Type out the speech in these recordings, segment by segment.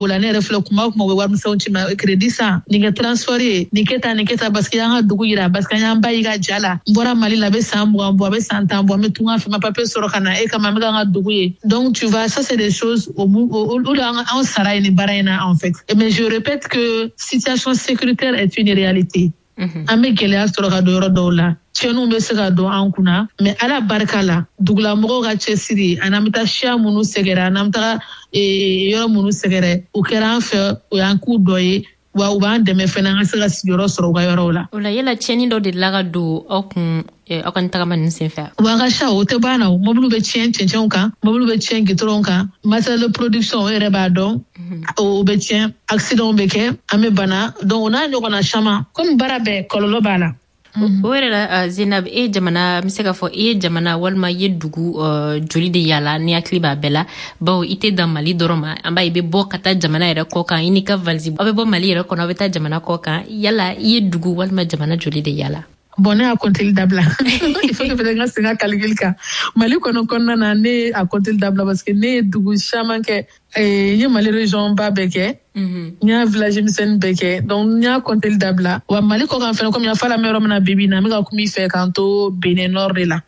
O la ne yɛrɛ filɛ, kuma o kuma, u bɛ warimisɛnw ci ma: crédit san, nin kɛ transport ye, nin kɛ tan, nin kɛ tan, parce que an ka dugu yira, parce que an y'an ba y'i ka ja la. N bɔra Mali la, a bɛ san 20 bɔ, a bɛ san 10 bɔ, n bɛ tunga fɛ, ma papier sɔrɔ ka na e kama, n bɛ ka n ka dugu ye. Donc tu vois, ça c'est des choses o o de an sara ye nin baara in na en fait. Mais je répète que situation sécuritaire est une réalité. An bɛ gɛlɛya sɔrɔ ka don yɔrɔ dɔw la, tiɲɛniw bɛ se ka don an kunna, mais Ala barika la, dugulamɔgɔw ka cɛsiri ani an bɛ taa siya minnu sɛgɛrɛ ani an bɛ taga yɔrɔ minnu sɛgɛrɛ, o kɛra an fɛ, o y'an k'u dɔ ye, wa u b'an dɛmɛ fɛnɛ an ka se ka sigiyɔrɔ sɔrɔ u ka yɔrɔw la. O la, yala tiɲɛni dɔ delila ka don aw kun aw ka tagama ninnu senfɛ? Wa a ka ca, o tɛ ban na. O mɔbiliw bɛ tiɲɛ cɛncɛnw kan, mɔbiliw bɛ tiɲɛ gitɔrɔnw kan, matériel de production, o yɛrɛ b'a dɔn, o bɛ tiɲɛ, accident bɛ kɛ, an bɛ bana. Donc o n'a ɲɔgɔnna caman, komi baara bɛɛ kɔlɔlɔ b'a la. O yɛrɛ la, Zenab, e jamana, n bɛ se k'a fɔ i ye jamana walima i ye dugu joli de yala, ni hakili b'a bɛɛ la? Bawo i tɛ dan Mali dɔrɔn ma, an b'a ye i bɛ bɔ ka taa jamana yɛrɛ kɔ kan, i n'i ka valise, aw bɛ bɔ Mali yɛrɛ kɔnɔ, aw bɛ taa jamana kɔ kan. Yala i ye dugu walima jamana joli de yala? Bon, ne y'a kɔnteli dabila. Il faut que peut-être n ka segin ka calcul kan. Mali kɔnɔ kɔnɔna na, ne a kɔnteli dabila parce que ne ye dugu caman kɛ. N ye Mali région ba bɛɛ kɛ, n y'a village misɛnnin bɛɛ kɛ, donc n y'a kɔnteli dabila. Wa Mali kɔ kan fɛnɛ, komi n y'a fɔ a la, n bɛ yɔrɔ min na bi bi in na, n bɛ ka kuma i fɛ k'an to Benin nord de la,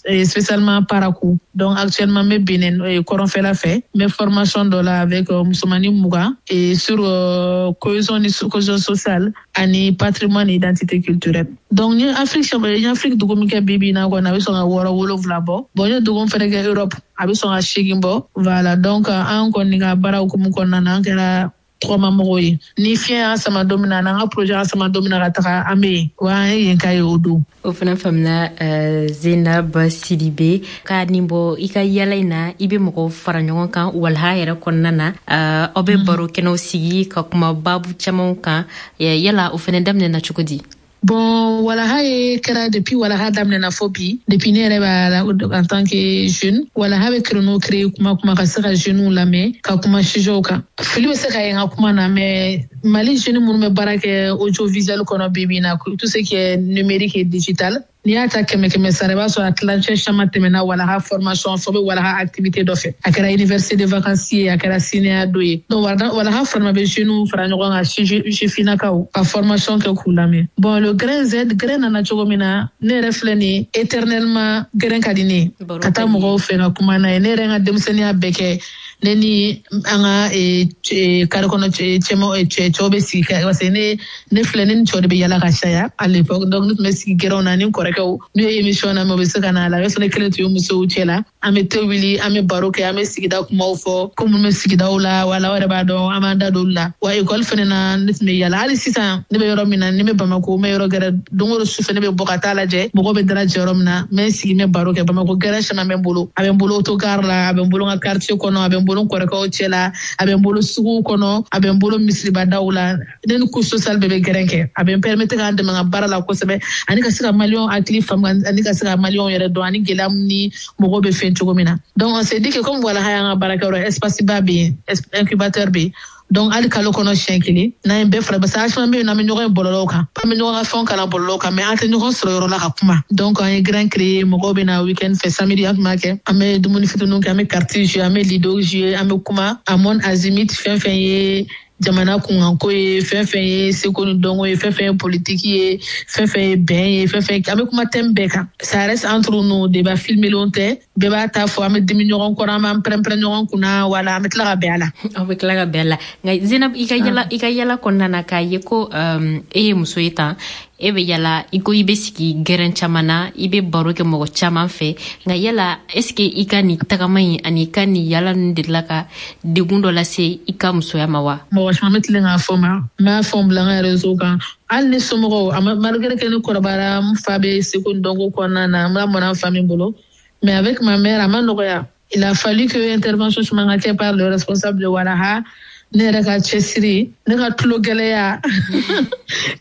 et spécialement Parakou. Donc actuellement, n bɛ Benin kɔrɔnfɛla fɛ, n bɛ formation dɔ la avec musomanin 20 et sur cohésion ni cohésion sociale ani patrimoine et identité culturelle. Donc n ye Afrique, n ye Afrique dugu min kɛ bi bi in na kɔni, a bɛ sɔn ka wɔɔrɔ wolonwula bɔ. Bon, n ye dugu min fɛnɛ kɛ Europe, a bɛ sɔn ka seegin bɔ. Voilà, donc an kɔni ka baara hukumu kɔnɔna na, an kɛra tɔgɔmamɔgɔw ye. Ni fiɲɛ y'an sama don min na, n'an ka projet y'an sama don min na ka taga, an bɛ yen, wa an ye yen ka ye o don. O fana faamuna. Zenab Sidibe, ka nin bɔ i ka yala in na, i bɛ mɔgɔw fara ɲɔgɔn kan walaha yɛrɛ kɔnɔna na, aw bɛ baro kɛnɛw sigi ka kuma babu camanw kan. Yala o fana daminɛna cogo di? Bon, walaha ye kɛra depuis walaha daminɛna fo bi, depuis ne yɛrɛ b'a la en tant que jeune, walaha bɛ créneau créer kuma kuma ka se ka jeunes lamɛn ka kuma sujetw kan. Fili bɛ se ka ye n ka kuma na, mais Mali jeune minnu bɛ baara kɛ audiovisuel kɔnɔ bi bi in na, tout ce qui est numérique et digital, n'i y'a ta kɛmɛ kɛmɛ sara, i b'a sɔrɔ a tilancɛ caman tɛmɛna walaha formation fɛ, bɛ walaha activité dɔ fɛ, a kɛra université de vacances ye, a kɛra cinéa dɔ ye. Donc walaha fana bɛ jeunes fara ɲɔgɔn kan, sifinnakaw, ka formation kɛ k'u lamɛn. Bon, le grain Z, grain nana cogo min na, ne yɛrɛ filɛ nin, éternellement grain ka di ne ye, ka taa mɔgɔw fɛ ka kuma n'a ye. Ne yɛrɛ ka denmisɛnninya bɛɛ kɛ, ne ni an ka carré kɔnɔ cɛma cɛw bɛ sigi, parce que ne filɛ, ne ni cɛw de bɛ yala ka caya à l'époque. Donc ne tun bɛ sigi gɛrɛnw na ni kɔrɔkɛw, n'u ye émission na, mɛ u bɛ se ka na a la. O y'a sɔrɔ ne kelen tun ye musow cɛ la. An bɛ te wuli, an bɛ baro kɛ, an bɛ sigida kumaw fɔ, ko minnu bɛ sigidaw la, wala aw yɛrɛ b'a dɔn, an b'an da don olu la. Wa école fɛnɛ na, ne tun bɛ yala. Hali sisan, ne bɛ yɔrɔ min na, ne bɛ Bamako, n bɛ yɔrɔ gɛrɛ, don o don sufɛ ne bɛ bɔ ka taa lajɛ mɔgɔw bɛ dalajɛ yɔrɔ min na, n bɛ n sigi, n bɛ baro kɛ. Bamako gɛrɛn caman bɛ n bolo, a bɛ n bolo autogare la, a bɛ n bolo n ka quartier kɔnɔ, a bɛ n bolo n kɔrɔkɛw cɛ la, a bɛ n bolo suguw kɔnɔ, a bɛ n bolo misiribadaw la. Ne ni couche sociale bɛɛ bɛ gɛrɛn kɛ. A bɛ n permettre k'an dɛmɛ n ka baara la kosɛbɛ, ani ka se ka Maliyɛnw hakili faamu, ani ka se ka Maliyɛnw yɛrɛ dɔn ani gɛlɛya min ni mɔgɔw bɛ fɛn cogo min na. Donc on s'est dit que comme walaha y'an ka baarakɛyɔrɔ, espace ba bɛ yen, incubateur bɛ yen, donc hali kalo kɔnɔ siɲɛ kelen, n'an ye bɛɛ fara, parce que an caman bɛ yen nɔ, an bɛ ɲɔgɔn ye bɔlɔlɔw kan, an bɛ ɲɔgɔn ka fɛnw kalan bɔlɔlɔw kan, mais an tɛ ɲɔgɔn sɔrɔ yɔrɔ la ka kuma. Donc an ye grain créer, mɔgɔw bɛ na week-end fɛ, samedi an tun b'a kɛ, an bɛ dumuni fitininw kɛ, an bɛ carte jouer, an bɛ lido jouer, an bɛ kuma à mon azimut, fɛn fɛn ye jamana kunkanko ye, fɛn fɛn ye seko ni dɔnko ye, fɛn fɛn ye politiki ye, fɛn fɛn ye bɛn ye, fɛn fɛn, an bɛ kuma thème bɛɛ kan. Ça reste entre nous, débat filmelenw tɛ, bɛɛ b'a ta fɔ, an bɛ dimi ɲɔgɔn kɔrɔ, an b'an pɛrɛn-pɛrɛn ɲɔgɔn kunna, wala an bɛ tila ka bɛn a la. Aw bɛ tila ka bɛn a la. Nka Zenab, i ka yala, i ka yala kɔnɔna na, k'a ye ko e ye muso ye tan, e bɛ yala, i ko i bɛ sigi gɛrɛn caman na, i bɛ baro kɛ mɔgɔ caman fɛ, nka yala est ce que i ka nin tagama in ani i ka nin yala ninnu delila ka degun dɔ lase i ka musoya ma wa? Mɔgɔ caman bɛ tilen k'a fɔ ma, n b'a fɔ n bila n ka réseau kan, hali ni somɔgɔw a, malgré que ne kɔrɔbayara, n fa bɛ seko ni dɔnko kɔnɔna na, n lamɔna n fa min bolo, mais avec ma mère a ma nɔgɔya. Il a fallu que intervention caman ka kɛ par le responsable de walaha, ne yɛrɛ ka cɛsiri, ne ka tulo gɛlɛya.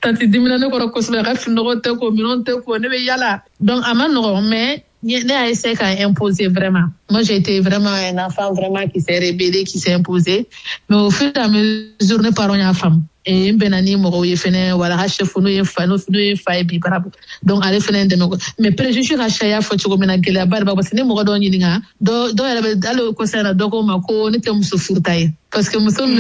Tantie dimina ne kɔrɔ kosɛbɛ, a ka finɔgɔ tɛ ko, minɛnw tɛ ko, ne bɛ yala. Donc a ma nɔgɔ, mais ne y'a essayé k'a imposer vraiment. Moi, j'ai été vraiment un enfant vraiment qui s'est rébellé, qui s'est imposé, mais au fur et à mesure, ne parents y'a faamu. N bɛnna ni mɔgɔw ye fɛnɛ, walaha chef, n'o ye fa ye bi barabu. Donc ale fɛnɛ dɛmɛ, mais préjugé ka caya fɔ cogo min na, gɛlɛyaba de b'a, parce que ni mɔgɔ dɔw ɲininka, dɔw yɛrɛ bɛ hali kɔsa in na, dɔ ko ma ko ne tɛ muso furuta ye, parce que muso min bɛ